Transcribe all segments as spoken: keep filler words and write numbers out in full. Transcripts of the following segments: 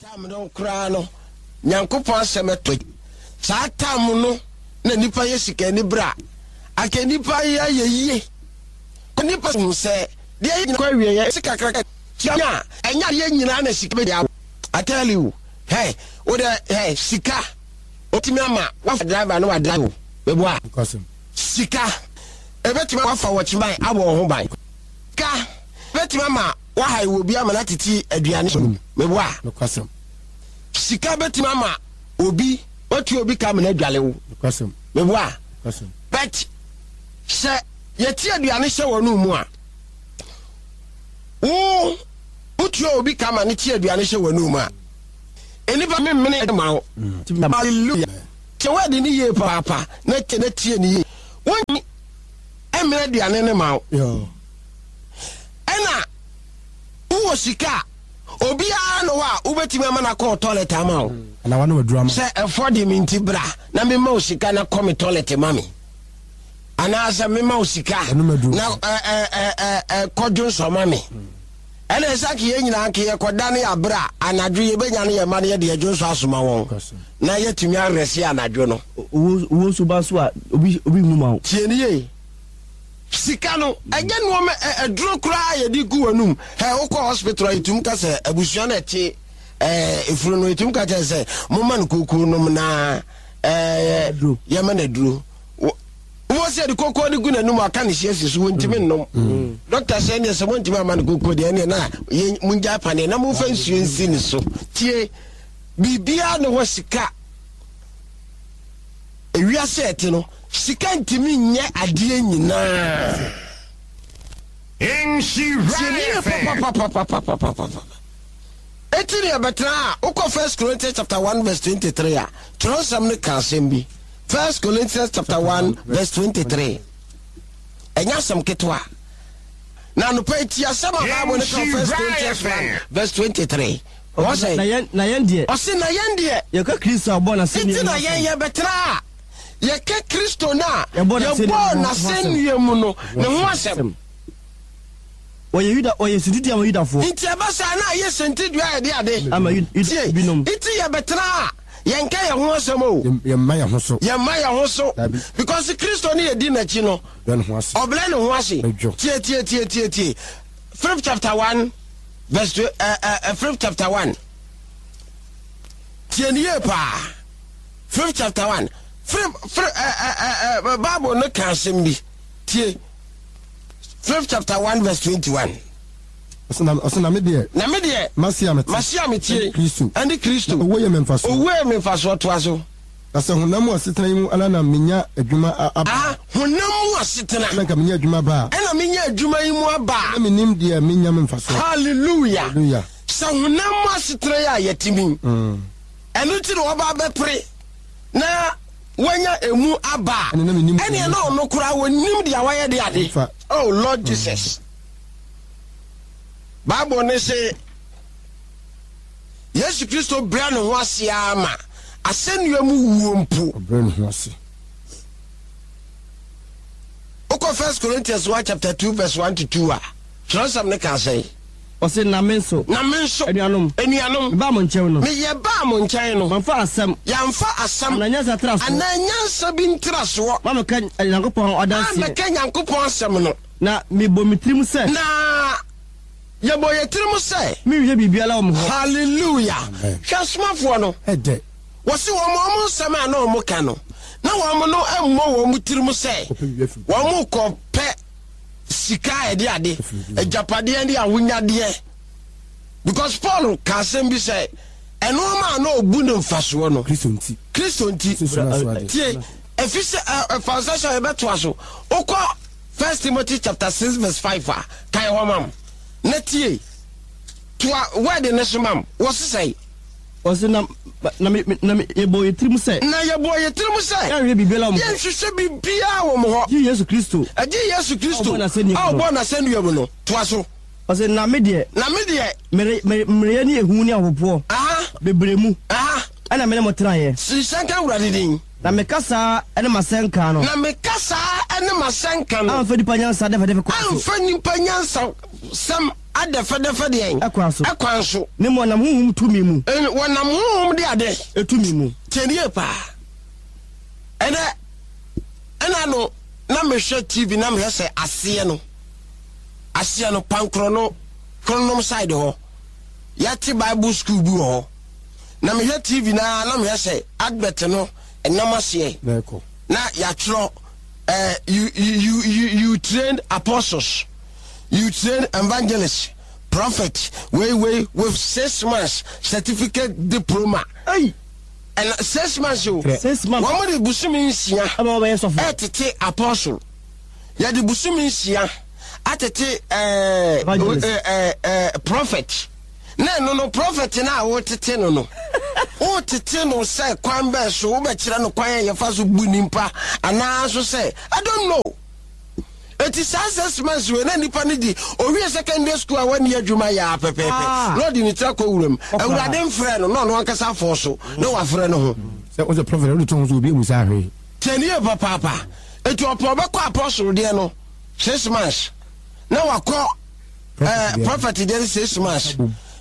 Time no koraa no, Nyankopɔn asɛm ɛtɔ saa time no na nipa yɛ sika ani bere a anka nipa yɛ ayɛ yie. Nipa hu sɛ deɛ yɛ kɔ awie yɛ sika kakra tia a, ɛnyɛ adeɛ nyinaa na sika bɛ de. I tell you, hey, wo de, hey, sika otumi ama wafa driver no wa drive o bɛboa. Sika ebetumi wafa wɔkyeman abɔ wɔn ho ban. Sika ebetumi ama waha wɔ bi ama na tete aduane so mɛboa. Sika betumi ama obi watu obi ka amena adwale wo mɛboa. But sɛ yɛti aduane hyɛ wɔn mu a, wo wotua obi ka ma ne ti aduane hyɛ wɔn mu a, enipa memene ma wo. Hallelujah. Kyɛ wɔde ne yie paapa na tie na tie ne yie, wɔn ɛmene aduane ne ma wo. Ɛna wowɔ sika a, obiara no hɔ a wobɛtumi ama no akɔ toilet ama wo sɛ ɛfɔ de me nti bra na mema wo sika na kɔ me toilet ma me, anaasɛ mema wo sika na kɔdwo nsɔ ma me. Ɛna ɛsɛ ke yɛn nyinaa ke yɛkɔda ne yɛaberɛ a anadwo yɛbɛnya no yɛma no yɛde yɛdwo nsɔ asoma wɔn na yɛtumi arɛse anadwo no. Owó nso ba so a, obi obi hu ma wo. Tie ne yie, sika no ɛnyɛ nneɛma ɛduro koraa yɛde gu w'anum. Ɛ wokɔ hospital a, yɛtumi ka sɛ abusua no ɛte ɛɛ efunu no, yɛtumi ka kyerɛ sɛ momma no kookoo nom na ɛɛ yɛma no aduro. Wọ́n sɛ yɛde kookoo de gu n'anum, aka ne hyia si so, wɔntumi nnom. Dɔkta sɛ ɛneɛ sɛ montumi ama no kookoo deɛ, ɛneɛ na mongya paneɛ na momfa nsuo nsi ne so. Tie, biribiara ne hɔ sika ewiase ɛte no, sika ntumi nyɛ adeɛ nyinaa. Nhyira F M. Papapapapapapapa. Eti ne yɛbɛtena a, wokɔ First Corinthians chapter one verse twenty-three a, twerɛnsɛm no ka asɛm bi. First Corinthians chapter one verse twenty-three. Ɛnyɛ asɛm ketewa. Na anɔpa yi, ti asɛm a Bible no ka First Corinthians one verse twenty-three. Wɔsɛ na yɛn na yɛn deɛ, ɔse na yɛn deɛ, yɛka Kristo a ɔbɔɔ n'asɛnnua nti mu na asɛm. Yɛn yɛbɛtena a, yɛka Kristo no a yɛbɔɔ n'asɛnnua yɛbɔɔ mu ho asɛm. N'asɛnnua mu no ne ho asɛm. Wɔyɛ Yuda, wɔyɛ suntidua ama Yudafoɔ. Nti ɛba saa na ayɛ sentidua a yɛde ade ama Yu- Yuda tie binom. Nti yɛbɛtena a, yɛnka yɛn ho asɛm o. Yɛmma yɛn ho so. Yɛmma yɛn ho so. Dabi. Because Kristo ne yɛdi n'akyi no, brɛ ne ho ase. Ɔbrɛ ne ho ase. Ɛdwo. Tie, tie, tie, tie, tie. Philip chapter one verse two, uh, uh, uh, Philip chapter one. Tie ne yie paa. Philip chapter one. Philip, Philip, uh, uh, uh, uh, Bible no ka asɛm bi. Tie. Philip chapter one verse twenty-one. Ɔsɛ na ɔsɛ na me deɛ, na me deɛ, mase a mete, mase a metie, ɛne Kristo. Ɛne Kristo. Na owó yɛ me mfasoɔ. Owó yɛ me mfasoɔ, toa so. Na sɛ honam mu asetena yi mu ala na menya adwuma a- aba, Ah, honam mu asetena. Na nka menya adwuma ba a, ɛna menya adwuma yi mu aba a, na menim deɛ menya me mfasoɔ. Hallelujah. Hallelujah. Sɛ honam mu asetena yi a yɛte mi, Mm. ɛno nti na wɔba bɛpere na wanya emu aba a, ɛne na menim ɛneɛ na ɔno koraa wɔnim deɛ wayɛ de ade. Fa. Oh Lord Jesus. Bible ne se Yesu Kristo brɛ ne ho ase ama asɛnnua mu wuo mpo. Ɔbrɛ ne ho ase. Wokɔ First Corinthians one chapter two verse one to two a, twerɛsɛm ne ka sɛn? Ɔse na me nso, na me nso, anuanom, anuanom, mebaa mo nkyɛn no, meyɛ baa mo nkyɛn no, mamfa asɛm yɛamfa asɛm anaa nyansa tra soɔ, anaa nyansa bi ntrasoɔ ma meka Nyankopɔn adanseɛ, amɛka Nyankopɔn asɛm no. Na mebɔ me tirim sɛ, na yɛbɔ yɛ tirim sɛ, menhwɛ biribiara wɔ mo hɔ. Hallelujah. Amen. Hwɛ, asomafoɔ no, ɛdɛ wɔsi wɔn wɔn nsɛm a na wɔn ka no, na wɔn no mmɔ wɔn tirim sɛ kɔpɛ biribi afiri wɔn kɔ pɛ sika a yɛde ade, agyapadeɛ ne ahonyadeɛ, because Paul ka asɛm bi sɛ ɛnoɔma a na ɔbu ne mfasoɔ no, Kristo nti, Kristo nti. Susu no aso ade. Tie, ɛfi sɛ ɛ ɛfa nsa sɛ yɛbɛtoa so, wokɔ First Timothy chapter six verse five a, kan hɔ mam na tie, toa word ne so mam wɔ sesɛe. Ɔse na na me na me yɛbɔ yɛ tirim sɛ, na yɛbɔ yɛ tirim sɛ, yɛnhwɛ biribiara wɔ mo hɔ, yɛnhwehwɛ biribiara wɔ mo hɔ, gye Yesu Kristo ɛgye Yesu Kristo a ɔbɔɔ n'asɛnnua mu a no. ɔbɔɔ n'asɛnnua mu no. Toa so. Ɔse na me deɛ, na me deɛ, mere mere mmerɛyɛ ne ehu ne ahopopoɔ aha bebree mu aha ɛna me ne mo tenaeɛ. Hyɛ nka Awurade din. Na me kasa ne m'asɛnka no, na me kasa ne m'asɛnka no, amfa nipa nyansa dɛfɛdɛfɛ kwan so, amfa nipa nyansa sɛm. Adɛfɛdɛfɛ deɛn? Ɛkwan so. Ɛkwan so. Ne mu ɔnam honhom tumi mu. Wɔnam honhom de ade. Etumi mu. Tiɛnie paa. Ɛnɛ ɛna no na mehwɛ T V na mehwɛ sɛ aseɛ no aseɛ no pankorɔ no kronom side hɔ, yɛate Bible school bi wɔ hɔ, na mehwɛ T V na na mehwɛ sɛ advert no ɛnam aseɛ na yɛatwerɛ uh, you, you, you, you train apostles, you train evangelists, prophet wei wei with six months certificate diploma. Hey. Ɛna six months o. Six months. Wɔn de busumi nsia ɛma wɔbɛyɛ sɔfo. Ɛtete apostle, yɛde busumi nsia atete ɛɛ Evangelist. ɛɛ ɛɛ prophet. Na ɛno no, prophet na a wotete no no wotete no sɛ kwan bɛɛ so wobɛkyerɛ no kwan a yɛfa so bu nipa anaa so sɛ I don't know. Eti saa six months wei na nipa no di owie secondary school a wani adwuma yɛ a pɛpɛɛpɛ Ah. na ɔde ne tiri akɔ wuram. Ɔkora. Awurade mfrɛ no na ɔno ankasa afɔ so na wafrɛ no ho. Sɛ wosɛ prophet, wode to ho so obi amu saa hwee. Tiɛnie papaapa. Eti ɔpɛ ɔbɛkɔ apostle deɛ no six months na wakɔ ɛɛ prophet deɛ no six months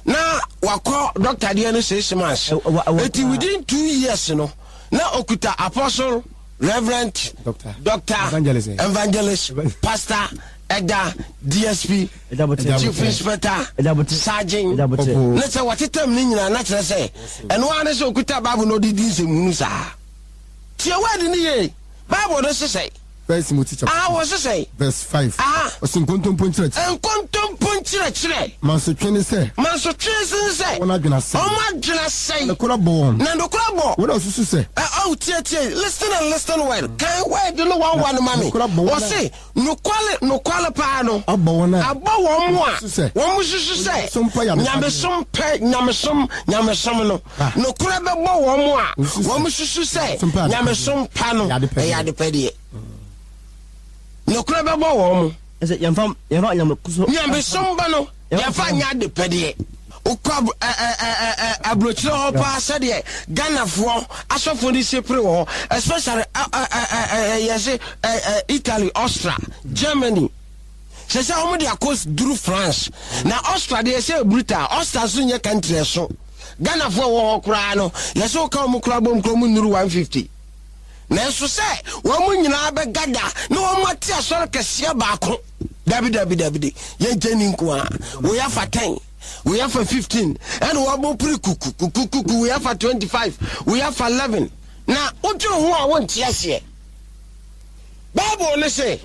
na wakɔ doctor deɛ no six months. Ɛ- wa- wa- Eti within two years no na okuta apostle, reverend, Doctor. doctor, Evangelist, eh. evangelist, pastor, ɛda D S P, Ɛda chief inspector, Ɛda bote. sergeant. Ɛda bote. Ɔpo. Ne sɛ wɔtetam ne nyinaa na kyerɛ sɛ ɛno ara ne sɛ okuta Bible na ɔde di nsɛmhunu saa. Tie word ne yie. Bible no sesɛ First Timothy chapter aha wɔ sesɛ verse five. Aha. Ɔsi nkontompo nkyerɛkyerɛ. Nkontompo nkyerɛkyerɛ. Mansotwe ne sɛ mansotwe sen sɛ wɔn adwene asɛe. Ɔmo adwene asɛe. Nokora bɔ wɔn. Na nokora bɔ. Wɔn a osusu sɛ Ɛ ɔw tie, tie, listen and listen well. Kan word no one one ma me. Nokora bɔ wɔn a- Wɔse nokwale nokwale paa no abɔ wɔn a abɔ wɔn mu a Susu sɛ wɔn mu susu sɛ nyamesom pa yɛ adepadeɛ. Nyamesom pɛ, nyamesom nyamesom no Ah. nokorɛ bɛbɔ wɔn mu a Wosusu sɛ wɔn mu susu sɛ nyamesom pa yɛ nyamesom pa no ɛyɛ adepɛdeɛ. Ɛyɛ adepɛdeɛ. Nokorɛ bɛbɔ wɔn mu. Ɛsɛ yɛmfa yɛmfa nyamesom. Nyamesom ba no yɛmfa nyɛ adepɛdeɛ. Wokɔ ab- ɛ- ɛ- ɛ- ɛ- ɛ- aburokyerɛ hɔ paa, sɛdeɛ Ghanafoɔ asɔfoɔ no si pere wɔ hɔ, especially ɛ- ɛ- ɛ- ɛ- ɛ- yɛse ɛ- ɛ, Italy, Austria, Germany, sɛ sɛ wɔn de akɔ duru France. Na Austria deɛ, yɛsɛ brutal. Austria nso nyɛ country. Ɛso Ghanafoɔ wɔ hɔ koraa no, yɛsɛ woka wɔn koraa bom koraa mu nnuru one fifty, nanso sɛ wɔn mu nyinaa bɛgada na wɔn ate asɔre kɛseɛ baako, dabi, dabi, dabi de yɛnkyɛn ni nko a wɔyɛ afa ten, wɔyɛ afa fifteen, ɛna wɔabɔ pere kuku kuku kuku, wɔyɛ afa twenty five, wɔyɛ afa eleven, na wotwe ho a wɔnte aseɛ. Bible ne sɛ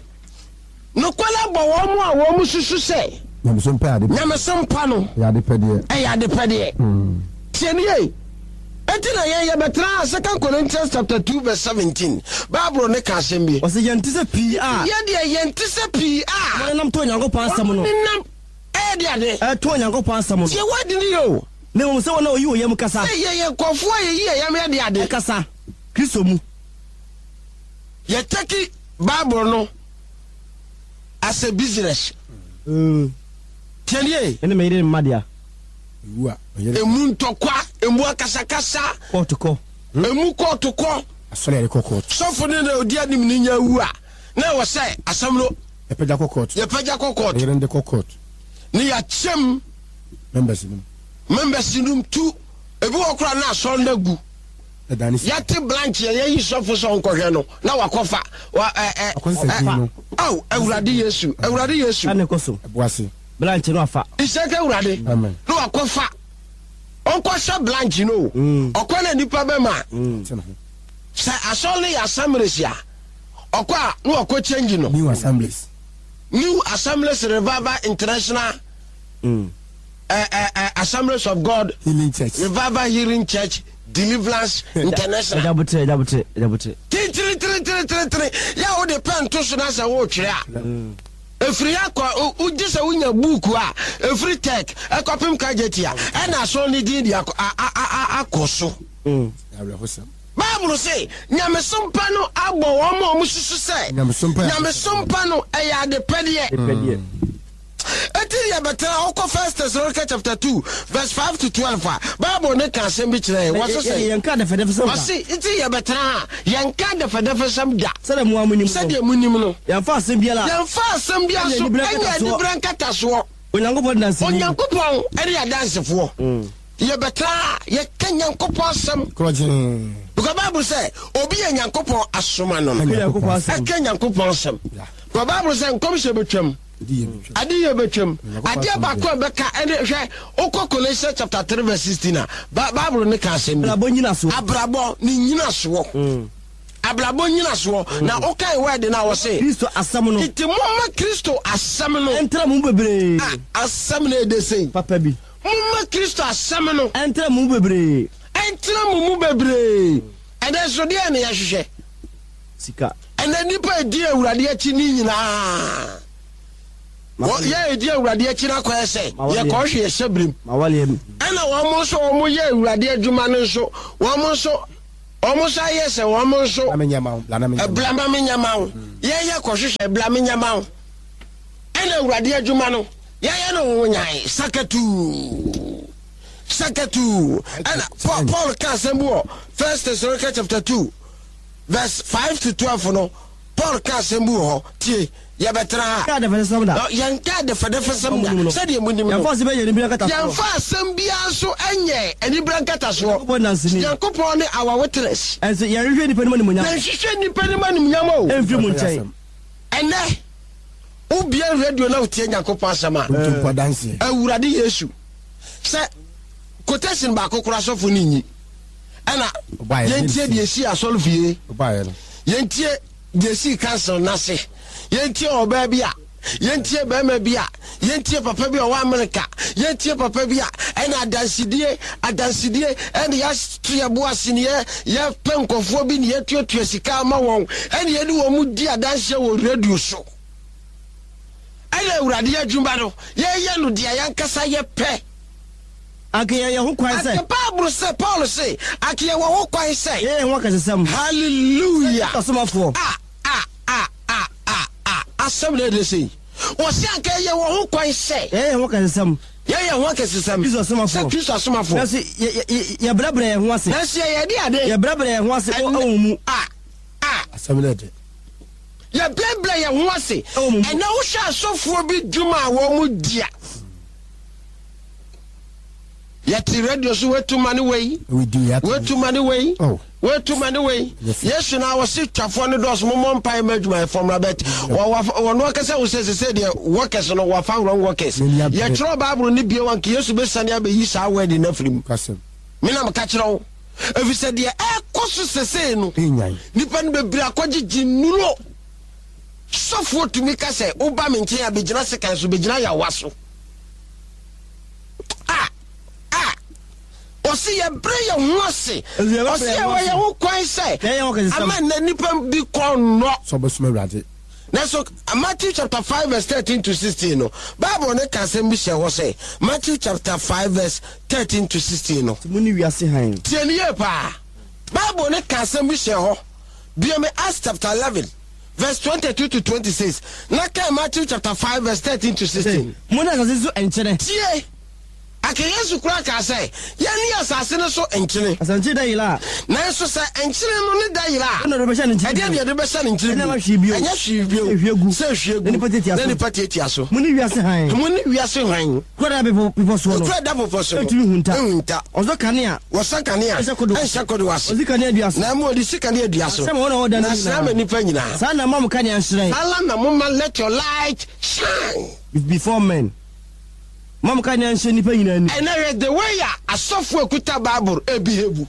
nokwara bɔ wɔn mu a wɔn mu susu sɛ nyamesom pɛ ade nyamesom pa no ɛyɛ adepɛdeɛ. Ɛyɛ adepɛdeɛ. Tie ne yie. Enti na yɛn yɛbɛtena Second Corinthians chapter two verse seventeen. Bible ne ka asɛm bi. Ɔsɛ yɛnte sɛ pii a yɛdeɛ yɛnte sɛ pii a wɔnenam to Onyankopɔn asɛm no. Nenam ɛyɛ de ade. Ɛto Onyankopɔn asɛm no. Tie wadi ne yɛ o. Na mmom sɛ wɔn a wɔyi wɔ yam kasa. Sɛ yɛyɛ nkɔfoɔ a yɛyi yɛ yam yɛ de ade. Ɛkasa Kristo mu. Yɛtake Bible no as a business. Tie ne yie. Ɛne mɛyere ne mma dea. Ewu a ɔyere. Emu ntɔkwa, emu akasakasa. Kɔɔto kɔ. Emu kɔɔto kɔ. Asɔre yɛde kɔ kɔɔto. Sɔfo ne na odi anim ne nya wu a, na ɛwɔ sɛ asɛm no yɛpɛgya kɔ kɔɔto. Yɛpɛgya kɔ kɔɔto. Ɔyere no de kɔ kɔɔto. Ne yɛakyɛm members no members no tu ebi wɔ koraa na asɔre no agu. Ɛda ne si. Yɛte branch yɛ yɛyi sɔfo sɛ ɔnkɔhwɛ no na wakɔfa wa ɛ ɛ Akɔsesa din no. Aw, Awurade Yesu, Awurade Yesu! Ɛne kɔ so. Ɛbo ase. Branch no afa. Isɛka Awurade. Amen. Na wakɔfa ɔnkɔhyɛ branch no o. Ɔkɔ na nipa bɛma te ne ho. Sɛ asɔre no yɛ Assemblies a, ɔkɔ a na wakɔ change no. New Assemblies. New Assemblies Revival International, Mm. uh, uh, uh, Assemblies of God Healing Church. Revival Healing Church Deliverance International. Ɛgya botere, ɛgya botere, ɛgya botere. Titiritiritiritiri yɛ a wode pɛn to so na sɛ woretwerɛ a, ɛfiri akɔ wogye sɛ wonya buuku a ɛfiri tech ɛkɔpem kagyeti a ɛna asɔre no din de akɔ a- a- a- akɔ so. Mm. Awerɛhosɛm. Bible se nyamesom pa no abɔ wɔn a wɔn susu sɛ nyamesom pa yɛ nyamesom pa no ɛyɛ adepɛdeɛ. Pɛdeɛ. Eti deɛ bɛtena wokɔ First Thessalonica chapter two verse five to twelve a, Bible ne ka asɛm bi kyerɛ yɛn. Wɔse sɛ yɛnka dɛfɛdɛfɛ sɛm da. Ɔse nti yɛbɛtena ha, yɛnka dɛfɛdɛfɛsɛm da. Sɛdeɛ mo a monim no. Sɛdeɛ munim no. Yɛmfa asɛm biara yɛmfa asɛm biara so ɛnyɛ ɛnyɛ aniberɛ aniberɛ nkatasoɔ. Onyankopɔn danseni. Onyankopɔn ɛne adansefoɔ. Yɛbɛtena a yɛka Nyankopɔn asɛm. Korɔgyee. Because Bible sɛ obi yɛ Nyankopɔn asoma no no. Onyankopɔn asɛm. Ɛka Nyankopɔn asɛm. Yeah. Because Bible sɛ nkɔmhyɛ bɛtwam. Edi yɛ bitwa. Ade yɛ bɛtwam. Onyankopɔn Adeɛ asɛm baako a bɛka ɛne hwɛ wokɔ Colossians chapter three verse sixteen a Ba- Bible ne ka asɛm bi. Abrabɔ nyinasoɔ. Abrabɔ ne nyinasoɔ. Abrabɔ nyinasoɔ. Na wokan word no a wɔse Kristo asɛm no. tete momma Kristo asɛm no. Ɛntra mo mu bebree. A asɛm no ɛde sei. Papa bi. Momma Kristo asɛm no Ɛntra mo mu bebree. ɛntena mo mu bebree. Ɛnɛ nso deɛ ne yɛhwehwɛ. Sika. Ɛnɛ nnipa edi Awurade akyi ne nyinaa. Wɔ- Yɛ edi Awurade akyi no akɔyɛ sɛ Ma wɔdeɛ. yɛkɔhwe yɛhyɛ birim. Ma waleɛ mu. Ɛna wɔn nso wɔn yɛ Awurade adwuma no nso wɔn nso wɔn nso ayɛ sɛ wɔn nso Bla me nyɛ ma wo. Bla na me nyɛ ma wo. ɛbla ma me nyama wo. Yɛyɛ kɔhwehwɛ ɛbla me nyama wo. Ɛna Awurade adwuma no yɛyɛ no ho nyan sakatuu sakatuu. Ɛna Paul Paul ka asɛm bi wɔ First Thessalonians chapter two verse five to twelve no Paul ka asɛm bi wɔ hɔ tie yɛbɛtena ha. Yɛnka adɛfɛdɛfɛsɛm da. Na yɛnka adɛfɛdɛfɛsɛm da sɛdeɛ munim no. Yɛmfa asɛm bɛyɛ anibere nkatasoɔ. Yɛmfa asɛm biara nso nyɛ anibere nkatasoɔ. Nyankopɔn danseni. Nyankopɔn ne our witness. Ɛnso yɛnhwehwɛ nnipa anim animuonyam. Yɛnhwehwɛ nnipa anim animuonyam o. Ɛmfiri mo nkyɛn. Ɛnɛ wobia radio na wotie Nyankopɔn asɛm a. Ntompo adanseɛ. Awurade Yesu sɛ quotation baako koraa sɔfo no nyi. Ɛna Ɔbaeɛ, yɛntie deɛ esi asɔre fie. Ɔbaeɛ no. Yɛntie deɛ esi council n'ase. Yɛntie ɔbaa bi a, yɛntie bɛrima bi a, yɛntie papa bi a ɔwɔ Amerika, yɛntie papa bi a ɛna adansidie adansidie ɛna yɛato yɛ bo ase ne yɛ yɛpɛ nkɔfoɔ bi ne yɛtuatua sika ama wɔn ɛna yɛde wɔn mu di adanseɛ wɔ radio so. Ɛna Awurade adwuma no yɛyɛ no deɛ yɛnkasa yɛpɛ. Anka yɛyɛ ho kwan sɛ. Anka Bible sɛ Paul se anka yɛwɔ ho kwan sɛ. Yɛyɛ ho akɛsesɛm. Hallelujah. Asomafoɔ. A a a a a a asɛm na ɛde sei. Wɔsi anka yɛwɔ ho kwan sɛ. Yɛyɛ ho akɛsesɛm. Yɛyɛ ho akɛsesɛm. Kristo asomafoɔ. Sɛ Kristo asomafoɔ. Nanso yɛ yɛ yɛbrɛbrɛ yɛn ho ase. Nanso yɛyɛ de ade. Yɛbrɛbrɛ yɛn ho ase ɛwɔ wɔn mu. A a. Asɛm na ɛde. Yɛbrɛbrɛ yɛn ho ase. Ɛwɔ mu. Ɛnna wohwɛ asɔfoɔ bi dwuma a wɔn mu di a. Yɛte radio so wetu ma ne wei. Wetu ma ne wei. Oh. Wetu ma ne wei. Yes. Yesu na wɔsi twafoɔ ne dɔɔso mo mmɔ mpae ma adwumayɛfoɔ mmra bɛt. Wɔn akasa wo sɛ sɛ deɛ workers no wɔfa wrong workers. N'ani abere. Yɛtwerɛ Bible ne bie wanka Yesu bɛsane abɛyi saa word no afiri mu. Kasɛm. Menam ka kyerɛ wo. Ɛfiri sɛ deɛ ɛkɔ so sesei no. Enyan. Nipa no bebree akɔgyegye nnuro. Sɔfoɔ tumi ka sɛ woba me nkyɛn a bɛgyina sekan so bɛgyina yawa so. A a ɔsi yɛbrɛ yɛn ho ase. Ɔsi yɛwɔ yɛn ho kwan sɛ ama nnɛ nipa bi kɔ nnɔ. Sɛ ɔbɛsoma Awurade. Nanso Matthew chapter five verse thirteen to sixteen no Bible ne ka asɛm bi hyɛ hɔ sɛ Matthew chapter five verse thirteen to sixteen no. Mo ni wiase han. Tie ni yie paa. Bible ne ka asɛm bi hyɛ hɔ. Biome Acts chapter eleven verse twenty-two to twenty-six. Na kan Matthew chapter five verse thirteen to sixteen. Mo ne asase so nkyene. Tie. Aka Yesu kura ka sɛ yɛne asase no so nkyene. Asase da yera. Nanso sɛ nkyene no ne da yera. Ɛna de bɛhyɛ ne nkyene. Ɛdeɛ deɛ de bɛhyɛ ne nkyene bio. Ɛnyɛ hwee bio. Ɛnyɛ hwee bio. Sɛ ehwie gu. Sɛ ehwie gu. Na nipa tiatia so. Na nipa tiatia so. Mo ne wiase han. Mo ne wiase han. Kura da bepɔ bepɔ soɔ no. Kura da bepɔ so no. Etumi hunta. Ehunta. Ɔsɔ kanea. Wɔsɔ kanea. Ɛnhyɛ kodo. Ɛnhyɛ kodo ase. Ɔsi kanea dua so. Na mu ɔde si kanea dua so. Na sɛ wɔn a wɔda no Na sɛ ama nipa nyinaa. Saa na mo kanea nhyerɛn. Saa na mo ma let your light shine. Before men. Mo kanea nhyɛ nipa nyinaa ni. Ɛnna yɛ the way a asɔfo ekuta Bible ebi hebu.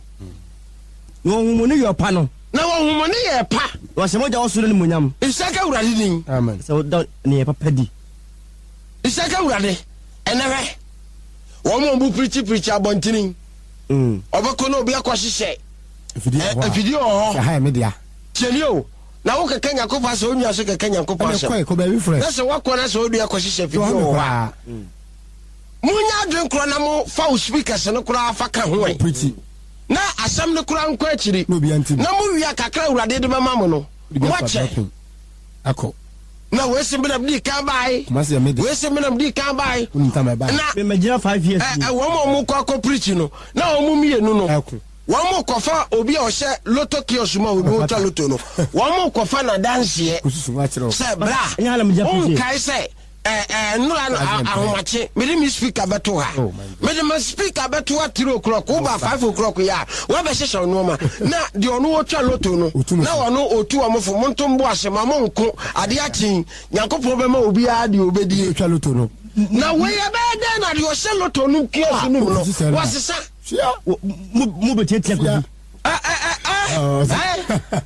Na wɔn humu ne yɛ ɔpa no. Na wɔn humu ne yɛ pa. Wɔhyɛ mo gya wɔ soro ne mo nyam. Nsaka Awurade din. Amen. Sɛ wɔda ne yɛ papa di. Nsaka Awurade ɛnɛ hwɛ. Wɔn a wɔn pirikyi pirikyi abɔntene. Ɔbɛkɔ na obi akɔ hyehyɛ. Afidie wɔ hɔ. Sɛ ha yɛ me dea. Tiɛni o. Na wo kɛkɛ Nyankopɔn asɛm, wo nua so kɛkɛ Nyankopɔn asɛm. Ɛna kɔ baabi frɛ. Na sɛ wakɔ na sɛ odua kɔ hyehyɛ afidie wɔ hɔ a. Munya adwene korɔ na mo fa wo speakers no koraa fa ka ho ɛ. Na asɛm no koraa nkɔ akyiri. Na mo wia kakra Awurade de bɛma mo no. Mo akyɛ. Akɔ. Na wei si menam di kan bae. Wei si menam di kan bae. Na megyina five years. Ɛ ɛ wɔn a wɔn kɔ akɔ preach no na wɔn mmienu no. Wɔn mo kɔfa obi a ɔhyɛ lotto kiosk mu a obi wotwa lotto no. Wɔn mo kɔfa n'adanseɛ. Sɛ bra. Nkae sɛ Nnora no ahomakye, mede me speaker bɛto ha. Mede me speaker bɛto ha three o'clock, woba five o'clock yɛ a, woabɛhyehyɛ nneɛma. Na deɛ ɔno wɔtwa loto no, na ɔno ɔtu wɔn fo, monto mbo ase ma monko adeɛ akyen. Nyankopɔn bɛma obiara deɛ ɔbɛdie. Ɔtwa loto no. Na wei ɛbɛyɛ dɛn na deɛ ɔhyɛ loto no kiosk no mu no, wɔsesa. Mo bɛtiatia kɔbi.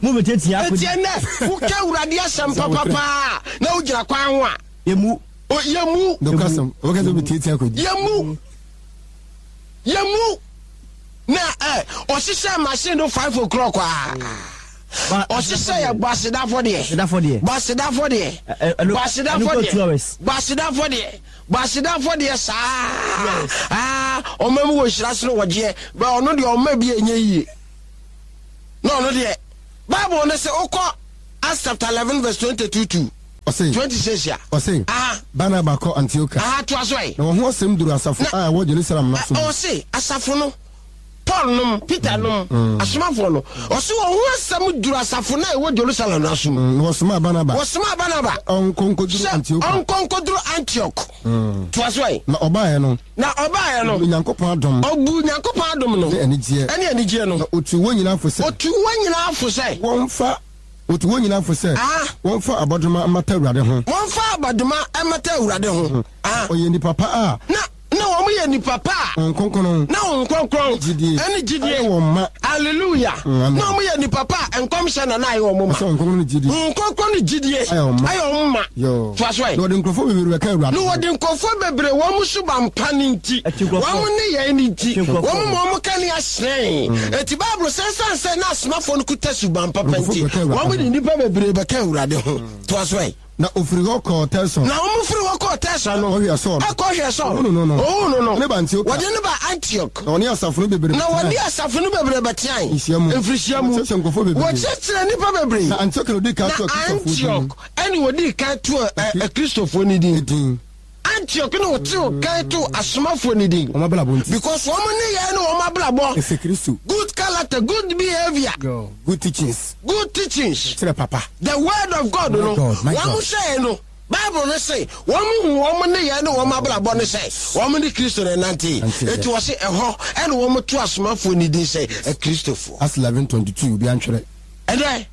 Mo bɛtiatia kɔbi. Eti ɛnɛ, woka Awurade asɛm papapaa na wogyina kwan ho a. Yɛmu. Yɛmu. Yɛmu. Yɛmu. Na ɛ ɔhyehyɛ machine no five o'clock a. Ɔhyehyɛ yɛ bɔ asedafo deɛ. Bɔ asedafo deɛ. Bɔ asedafo deɛ. Bɔ asedafo deɛ. Bɔ asedafo deɛ saa. Aa ɔma mu wɔ nhyira soro wɔgyeɛ. Bɛ ɔno deɛ ɔma bi enye yie. Na ɔno deɛ Bible no sɛ wokɔ Acts chapter eleven verse twenty-two to twenty six a. Ɔse Barnaba kɔ Antioch. Aha toa so ɛ. Na wɔn ho asɛm duru asafo a ɛwɔ Jerusalem no so. Ɔse asafo no Paul nom, Peter nom, asomafoɔ no. Ɔse wɔn ho asɛm duru asafo no a ɛwɔ Jerusalem no so. Na wɔsomaa Barnaba. Wɔsomaa Barnaba. Ɔnkɔ nkɔduru Antioch. Ɔnkɔ nkɔduru Antioch. Toa so ɛ. Na ɔbaeɛ no. Na ɔbaeɛ no. Ɔbu Nyankopɔn adom. Ɔbu Nyankopɔn adom no. Ne anigyeɛ. Ɛne anigyeɛ no. Na ɔtuu wɔn nyinaa fo sɛ. Ɔtuu wɔn nyinaa fo sɛ. Wɔmfa Ɔtu wɔn nyinaa fo sɛ. Wɔmfa abɔdoma mmata Awurade ho. Wɔmfa abɔdoma mmata Awurade ho. Ɔyɛ nipa pa a. Na na wɔn yɛ nipa pa a. Wɔn kronkron. Na wɔn kronkron. Gyidie. Ɛne gyidie. Ayɛ wɔn ma. Hallelujah. Mm, na wɔn yɛ nipa pa a nkɔmhyɛ na na ayɛ wɔn ma. Ɛsɛ wɔn kronkron ne gyidie. Wɔn kronkron ne gyidie. Ayɛ wɔn ma. Ayɛ wɔn ma. Yoo. Toa so ɛ. Na wɔde nkurɔfoɔ bebree bɛka Awurade. Na wɔde nkurɔfoɔ bebree wɔn suban pa ne nti. Wɔn ne yɛn ne nti. Wɔn ma wɔn ka ne ahyerɛn. Eti Bible sɛ ɛsan sɛ na asomafoɔ no kuta suban papa nti wɔn de nipa bebree bɛka Awurade ho. Toa so ɛ. Na ofiri hɔ kɔɔ Tɛsɔn. Na wɔn firi hɔ kɔɔ Tɛsɔn no. Ɔhwɛ Sɔl. Ɛkɔ hwɛ Sɔl. Ohunu no no. Ohunu no. Ne ba Antioch. Wɔde ne ba Antioch. Na wɔne asafo no bebree. Na wɔne asafo no bebree bɛteae. Nhyia mu. Mfirihyia mu. Wɔkyerɛkyerɛ nkurɔfoɔ bebree. Wɔkyerɛkyerɛ nnipa bebree. Na Antioch na wɔdi kan too Na Antioch ɛna wɔdi kan too Akristofoɔ no din. Din. Antioch na wɔtew kan too asomafoɔ no din. Wɔn abrabɔ nti. Because wɔn ne yɛn ne wɔn abrabɔ. Ɛsɛ Kristo. Good character, good behavior. Good teachings. Good teachings. Kyerɛ papa. The word of God no. Wɔn hyɛ no. Bible no say wɔn hu wɔn ne yɛn ne wɔn abrabɔ ne sɛ wɔn ne Kristo na nante. Eti wɔ se ɛhɔ ɛna wɔn to asomafoɔ ne din sɛ Akristofoɔ. Acts eleven twenty two obi antwerɛ. Ɛnɛ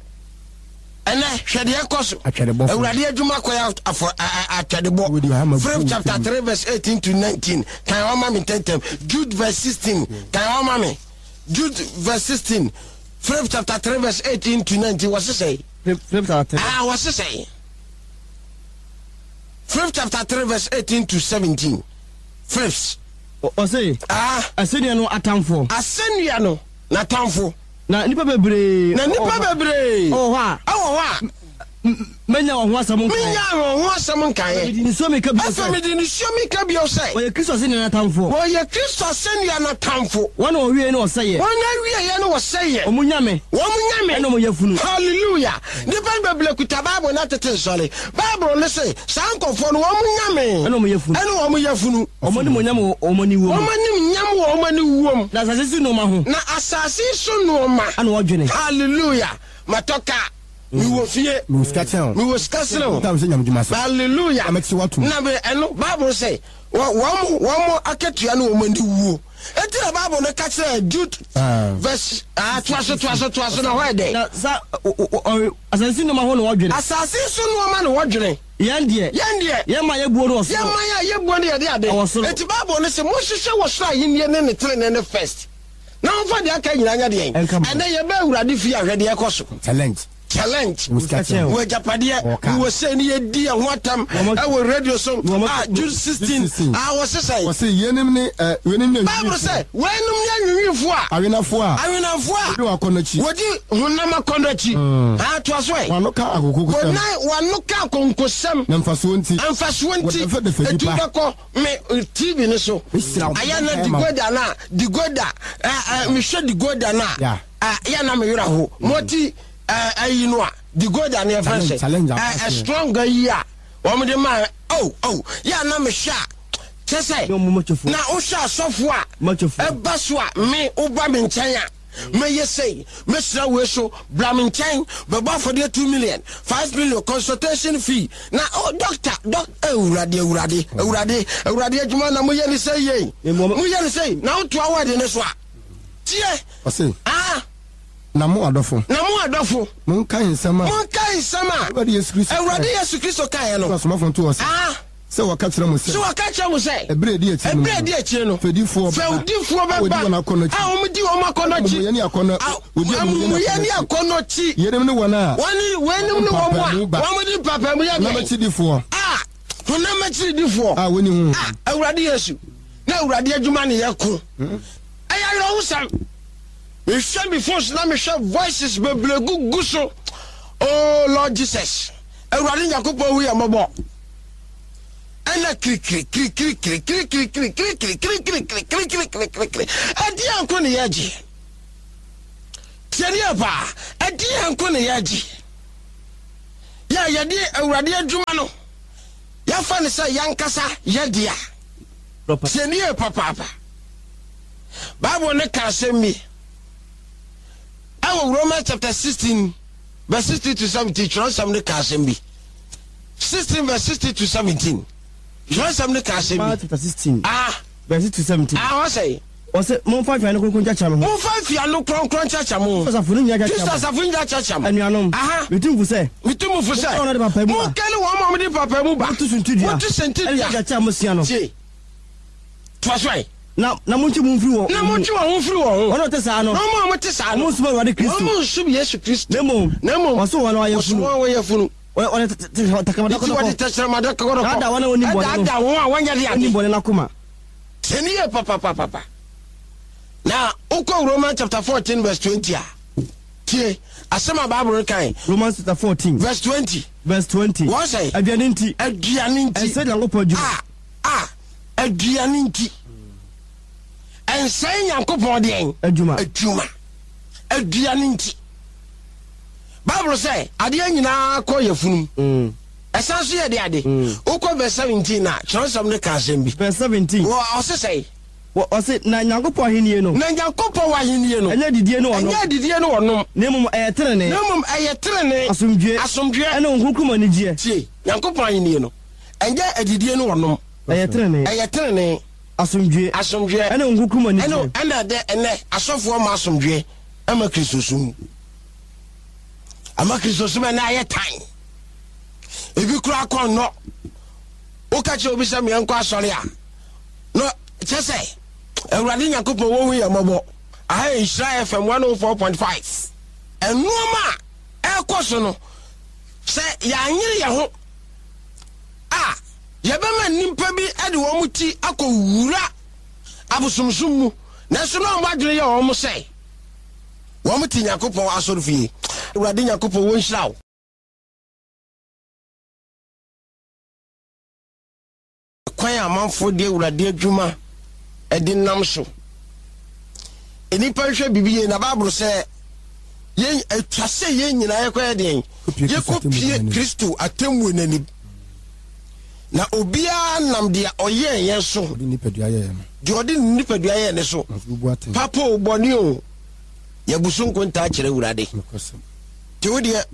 ɛnɛ hwɛ deɛ ɛkɔ so. Atwɛdebɔfo. Awurade adwuma kɔ yɛ afɔ atwɛdebɔ. Philip chapter three verse eighteen to nineteen. Kan wɔn ma mi ntɛntɛm. Jude verse sixteen. Kan wɔn ma mi. Jude verse sixteen. Philip chapter three verse eighteen to nineteen. Wɔ sisɛ. Philip chapter three. Ah, wɔ sisɛ. Philip chapter three verse eighteen to seventeen. Philips. Ɔse. Ah. Asɛnnua no atamfo. Asɛnnua no n'atamfo. Na nipa bebree. Na nipa bebree. Ɛwɔ hɔ a. Ɛwɔ hɔ a. Menya wɔn ho asɛm nkaeɛ. Menya wɔn ho asɛm nkaeɛ. Mede nisuo meka bio sɛ. Afei mede nisuo meka bio sɛ. Wɔyɛ Kristo asɛnnua no atamfo. Wɔyɛ Kristo asɛnnua no atamfo. Wɔn na wɔwieɛ ne wɔsɛeɛ. Wɔn na wieɛ ne wɔsɛeɛ. Wɔn nyame. Wɔn nyame. Ɛna wɔn yafunu. Hallelujah. Nipa bebree kuta Bible na tete nsɔre. Bible ne se saa nkɔfoɔ no wɔn nyame. Ɛna wɔn yafunu. Ɛna wɔn yafunu. Wɔn anim nyam wɔ wɔn ani wuom. Wɔn anim nyam wɔ wɔn ani wuom. Na asase so nneɛma ho. Na asase so nneɛma. Ɛna wɔdwene. Hallelujah. Matɔ kaa. Miwɔ fie. Miwɔ sika kyɛn o. Miwɔ sika sene o. Ntam sɛ nyame dwuma so. Hallelujah. Na mɛte watom. Na bɛ ɛno Bible sɛ wɔn wɔn akatua ne wɔn ani wuo. Eti na Bible no ka kyerɛ Jude verse ah toa so toa so toa so na hɔ yɛ dɛ. Na sa asase so nneɛma ho na wɔdwene. Asase so nneɛma na wɔdwene. Yɛn deɛ. Yɛn deɛ. Yɛn ma yɛbuo no wɔ soro. Yɛn ma yɛ yɛbuo no yɛde ade. Ɛwɔ soro. Eti Bible no sɛ mohyehyɛ wɔ soro ahenni ne ne tenenee ne first. Na wɔmfa deɛ aka nyinaa nyɛ deɛn. Ɛnɛ yɛbɛ Awurade fie ahwɛ deɛ ɛkɔ so. Challenge. Challenge. Wɔ agyapadeɛ. Wɔ sɛ ne yɛdi ɛho atam ɛwɔ radio so. Ah, Jude sixteen. Ah, wɔ sesɛn. Wɔse yɛnim ne ɛ yɛnim ne. Bible sɛ wɔnom ne anwinwinfoɔ a. Awenafoɔ a. Awenafoɔ a. Wɔdi wɔn akɔnnɔ akyi. Wɔdi honam akɔnnɔ akyi. Ah, toa so ɛ. Wɔn ano ka akonkosɛm. Wɔn wɔn ano ka akonkosɛm. Na mfasoɔ nti. Mfasoɔ nti. Wɔdɛfɛdɛfɛ Etu nipa. bɛkɔ me T V ne so. Ayɛ na digoda na digoda ɛ ɛ mehwɛ digoda na. Yɛ na meyera ho. Mɔti ayi no a digoda ne ɛfɛ sɛ ɛ strong ayi a wɔn de ma oh oh yɛ na mehwɛ a kyɛ sɛ na wohwɛ asɔfo a ɛba so a me woba me nkyɛn a Mɛyɛ sei, mɛsira wei so, bra me nkyɛn, bɛbɔ afɔdeɛ two million, five million, consultation fee. Na oh, doctor, doc, awurade, awurade, awurade, awurade adwuma na moyɛ ne sɛ yei. Moyɛ ne sɛ, na wotoa wɔ ne so a. Tie. Ɔse. Ah. Na mo adɔfo. Na mo adɔfo. Monkae nsɛm a. Monkae nsɛm a. Awurade Yesu Kristo. Awurade Yesu Kristo kaeɛ no. Asomafo nto ɔse. Ah. Sɛ wɔka kyerɛ mo sɛ. Sɛ wɔka kyerɛ mo sɛ. Ɛberɛ edi akyire no. Ɛberɛ edi akyire no. Fɛdifoɔ bɛba. Fɛdifoɔ bɛba. A wɔdi wɔn akɔnnɔ akyi. Amumuyɛ ne akɔnnɔ. Wɔdi amumuyɛ ne akɔnnɔ akyi. Yeinom ne wɔn a. Wɔne weinom ne wɔn a. Wɔn di mpapamu yɛ deɛ. Honam akyiridifoɔ. A honam akyiridifoɔ. A wɔnni honhom. A Awurade Yesu na Awurade adwuma ne yɛ ko. Ɛyɛ awerɛhosɛm. Mehwɛ me phones na mehwɛ voices bebree gugu so. Oh Lord Jesus. Awurade Nyankopɔn hu yɛ mmɔbɔ. Ɛna kirikiri kirikiri kirikiri kirikiri kirikiri kirikiri kirikiri kirikiri kirikiri. Ɛdeɛ nko ne yɛgye. Tiɛdeɛ paa. Ɛdeɛ nko ne yɛgye. Yɛ yɛde Awurade adwuma no. Yɛfa ne sɛ yɛnkasa yɛdea. Tiɛdeɛ papaapa. Bible ne ka asɛm bi. Ɛwɔ Romans chapter sixteen verse sixteen to seventeen, twerɛsɛm ne ka asɛm bi. sixteen verse sixteen to seventeen. Twerɛsɛm ne ka asɛm bi. Chapter sixteen. Ah. Verse sixteen to seventeen. Ah, ɔsɛ. Ɔsɛ momfa mfiano kronkron kyakya mo ho. Momfa mfiano kronkron kyakya mo ho. Kristo asafo no nyinaa kyakya mo. Kristo asafo nyinaa kyakya mo. Anuanom. Aha. Metu mo fo sɛ. Metu mo fo sɛ. Monkane wɔn a wɔde papa mu ba. Motu suntidua. Motu suntidua. Ɛne kyakya a moasua no. Tie. Toa so ɛ. Na na montwe mo ho mfiri wɔn. Na montwe wɔn ho mfiri wɔn ho. Wɔn a wɔte saa no. Na wɔn a wɔte saa no. Wɔn nsom Awurade Kristo. Wɔn nsom Yesu Kristo. Na mmom. Na mmom. Wɔsom wɔn a wɔyɛ Wɔsom funu. wɔn a wɔyɛ funu. Wɔde tɛkrɛma Nti wɔde tɛkrɛma dɔkɔdɔkɔ. Daadaa wɔn a wɔnim bɔne no. Ɛdaadaa wɔn a wɔnyɛ de ade. Wɔnim bɔne no akoma. Sɛ ne yɛ papapapapa. Na wokɔ Romans chapter fourteen verse twenty a, tie asɛm a Bible no kan. Romans chapter fourteen. Verse twenty. Verse twenty. Wɔn sɛ. Aduane nti. Aduane nti. Ɛnsɛ Nyankopɔn adwuma. A a aduane nti. Ɛnsɛ Nyankopɔn deɛn. Adwuma. Adwuma. Aduane nti. Bible sɛ adeɛ nyinaa kɔ yɛ funum. Ɛsan so yɛ de ade. Wokɔ verse seventeen na kyerɛwsɛm no ka asɛm bi. Verse seventeen. Wɔ ɔse sɛ. Ɔse na Nyankopɔn ahennie no. Na Nyankopɔn ahennie no. Ɛnyɛ adidie ne ɔnom. Ɛnyɛ adidie ne ɔnom. Na mmom ɛyɛ tenenee. Na mmom ɛyɛ tenenee. Asomdwoeɛ. Asomdwoeɛ. Ɛne Honhom Kronkron mu anigyeɛ. Tie, Nyankopɔn ahennie no. Ɛnyɛ adidie ne ɔnom. Ɛyɛ tenenee. Ɛyɛ tenenee. Asomdwoeɛ. Asomdwoeɛ. Ɛne Honhom Kronkron mu anigyeɛ. Ɛne ɛna dɛ ɛnɛ asɔfoɔ ma asomdwoeɛ ɛma Kristosom. Ama Kristosom ɛnɛ ayɛ tan. Ebi kura kɔ nnɔ. Woka kyerɛ obi sɛ meɛnkɔ asɔre a. No kyɛ sɛ Awurade Nyankopɔn wɔhu yɛ mmɔbɔ. Aha yɛ Nhyira F M one oh four point five. Ɛnnoɔma a ɛrekɔ so no, sɛ yɛanyere yɛn ho a, yɛbɛma nnipa bi de wɔn ti akɔwura abosomsom mu. Nanso na wɔn adwene yɛ wɔn sɛ wɔn te Nyankopɔn asɔrefie. Awurade Nyankopɔn wɔnhyira wo. Kwan amanfoɔ de Awurade adwuma de nam so. Nnipa nhwɛ biribi yie na Bible sɛ yɛn atwa sɛ yɛn nyinaa yɛkɔyɛ deɛn? Yɛkɔpie Kristo atemmuo n'anim. Na obiara nam deɛ ɔyɛɛ yɛn so. Deɛ ɔde ne nipadua yɛɛ ne so. Papa o, bɔne o, yɛbu so nkontaa kyerɛ Awurade. Nti wo deɛ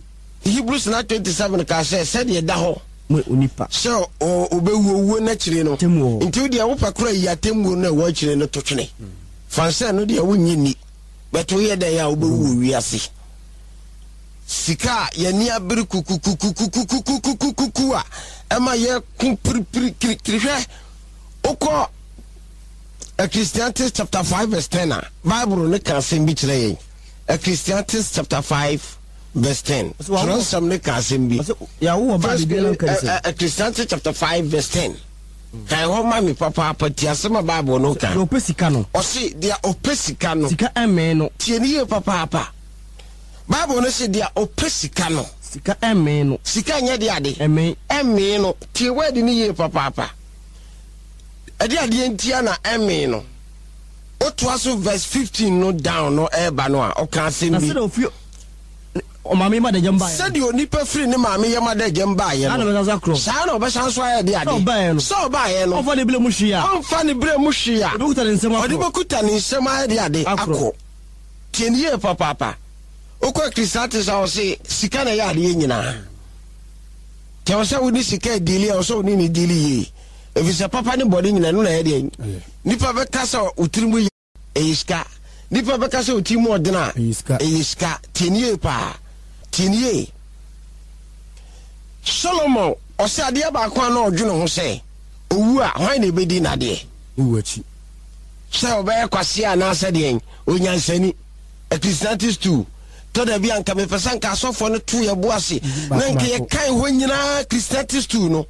Hebrews nine twenty-seven ka sɛ sɛdeɛ da hɔ sɛ ɔbɛwu owuo n'akyire no. Nti wo deɛ wopɛ kora yi atemmuo no a ɛwɔ akyire no to twene. Fansɛ no deɛ wonnye nni. Bɛto yɛ dɛn a wobɛwu wɔ wiase. Sika a yɛni abere kukukukukukukukukukuku a ɛma yɛko piripiri kirikiri hwɛ. Wokɔ Ecclesiastes chapter five verse ten a, Bible no ka asɛm bi kyerɛ yɛn. Ecclesiastes chapter five verse ten. Kyerɛwsɛm no ka asɛm bi. Ecclesiastes chapter five verse ten. Kan hɔ ma me papaapa ti asɛm a Bible no ka. Deɛ ɔpɛ sika no. Ɔse deɛ ɔpɛ sika no. Sika ɛmmee no. Tie ne yie papaapa. Bible no se deɛ ɔpɛ sika no. Sika ɛmmee no. Sika nyɛ deɛ ade. Ɛmmee. Ɛmmee no. Tie word ne yie papaapa. Ɛde adeɛ ntia na ɛmmee no. Otoa so verse fifteen no down no ɛreba no a ɔka asɛm bi. Na sɛdeɛ ofi ɔmaame yam adagyam baeɛ. Sɛdeɛ onipa firi ne maame yam adagyam baeɛ no. Saa na ɔbɛsan so ayɛ de ade. Sɛ ɔbaeɛ no. Sɛ ɔbaeɛ no. Ɔmfa ne berɛ mu hwee a. Ɔmfa ne berɛ mu hwee a. Ɔde bɛkuta ne nsam akɔ. Ɔde bɛkuta ne nsam ayɛ de ade akɔ. Tie ne yie papaapa. Wokɔ Ecclesiastes a, ɔse sika na ɛyɛ adeɛ nyinaa. Kyɛ wɔ sɛ wone sika deal a, wɔ sɛ wone ne deal yie, ɛfiri sɛ papa ne bɔne nyina no na ɛyɛ deɛ. Ɛyɛ. Nipa bɛka sɛ wo tiri mu yɛ, ɛyɛ sika. Nipa bɛka sɛ wo tiri mu ɔdene a, Ɛyɛ sika. Ɛyɛ sika. Tie ne yie paa, tie ne yie. Solomon ɔsɛ adeɛ baako a na ɔdwene ho sɛ owu a, hwan na ɛbɛdi n'adeɛ? Ne wu akyi. Sɛ ɔbɛyɛ kwasea anaasɛ deɛn onyansani. Ecclesiastes two tɔ da bi a, nka mepɛ sɛ nka asɔfoɔ no to yɛ bo ase na nka yɛkan hɔ nyinaa. Ecclesiastes two no,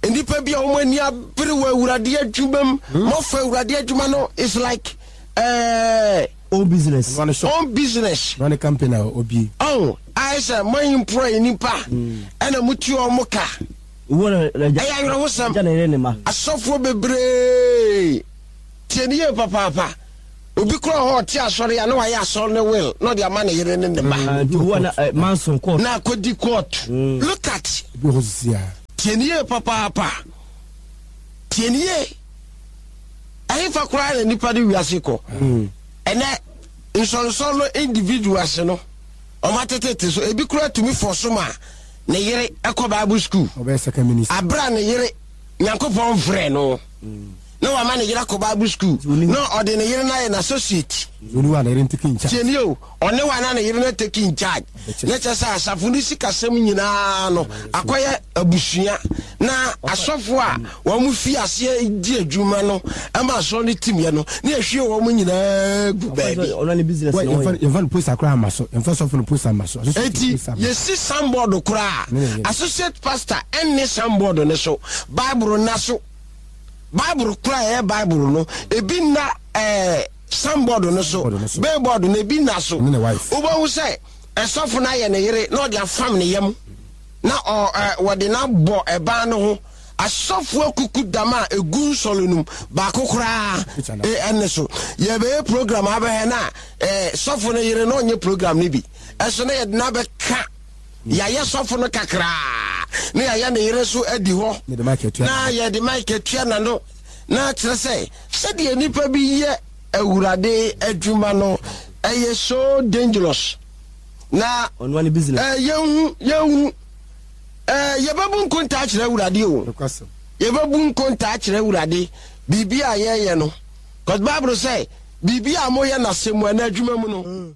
nnipa bi a wɔn ani abere wɔ Awurade adwuma mu, mɔfa Awurade adwuma no is like uh, own business. Ɔno ne shop. Own business. Ɔno ne company a obie. Ɔn ayɛ sɛ mo employ nipa ɛna mo tu wɔn ka. Owó na ɛgya. Ɛyɛ awerɛhosɛm. Ɛgya na yɛrɛ ne ma. Asɔfoɔ bebree, tie ne yie papaapa, obi kura hɔ ɔte asɔre a, na wayɛ asɔre ne will na ɔde ama ne yere ne ne ba. Nti owó na ɛ manson court. Na akɔdi court, look at. Ebi wɔ hɔ sisi a. Tie ne yie papaapa, tie ne yie. Ɛhefa koraa na nipa de wiase kɔ ɛnɛ? Nsɔnsɔn no, individuals no, ɔmo atetete so, ebi kura tumi fɔ so ma ne yere ɛkɔ Bible school. Ɔbɛyɛ second minister. Abira ne yere Nyankopɔn frɛ no na wama ne yere akɔ Bible school na ɔde ne yere no ayɛ n'associate. Ɔne wa na yere ntake in charge. Tie nie o, ɔne wa na ne yere no take in charge, na kyerɛ sɛ asafo no sikasɛm nyinaa no akɔyɛ abusua, na asɔfo a wɔn mo fi aseɛ di adwuma no ɛma asɔre no timyɛ no ne yɛhwie wɔn nyinaa gu baabi. Ɔno ne business Wɔ na yɛmfa ɔyɛ. Yɛmfa no post akora ama so, yɛmfa sɔfo no post ama so. Associate Eti post ama so. yɛsi signboard koraa, Ne ne yere. associate pastor ɛnne signboard ne so, Bible na so, Bible koraa ɛyɛ Bible no ebi nna ɛɛ signboard no so. Signboard no so. Billboard no ebi nna so. Ne ne wife. Wobɛhu sɛ ɛsɔfo no ayɛ ne yere na ɔde afam ne yam na ɔ ɛ wɔde no abɔ ɛban no ho. Asɔfo akuku dam a egu nsɔre no mu baako koraa Picture na. ɛ ɛne so yɛbɛyɛ program abɛhɛ na ɛɛ sɔfo no yere na ɔnyɛ program no bi ɛso na yɛde no abɛka. Yɛayɛ sɔfo no kakraa na yɛayɛ ne yere so adi hɔ. Ne de mic atua. Na yɛde mic atua n'ano, na kyerɛ sɛ sɛdeɛ nipa bi yɛ Awurade adwuma no ɛyɛ so dangerous na Ɔno ne business. ɛɛ yɛnhu yɛnhu ɛɛ yɛbɛbu nkontaa kyerɛ Awurade o. Nokwasɛm. Yɛbɛbu nkontaa kyerɛ Awurade biribi a yɛyɛ no, cause Bible sɛ biribi a moyɛ n'asɛm mu anaa adwuma mu no.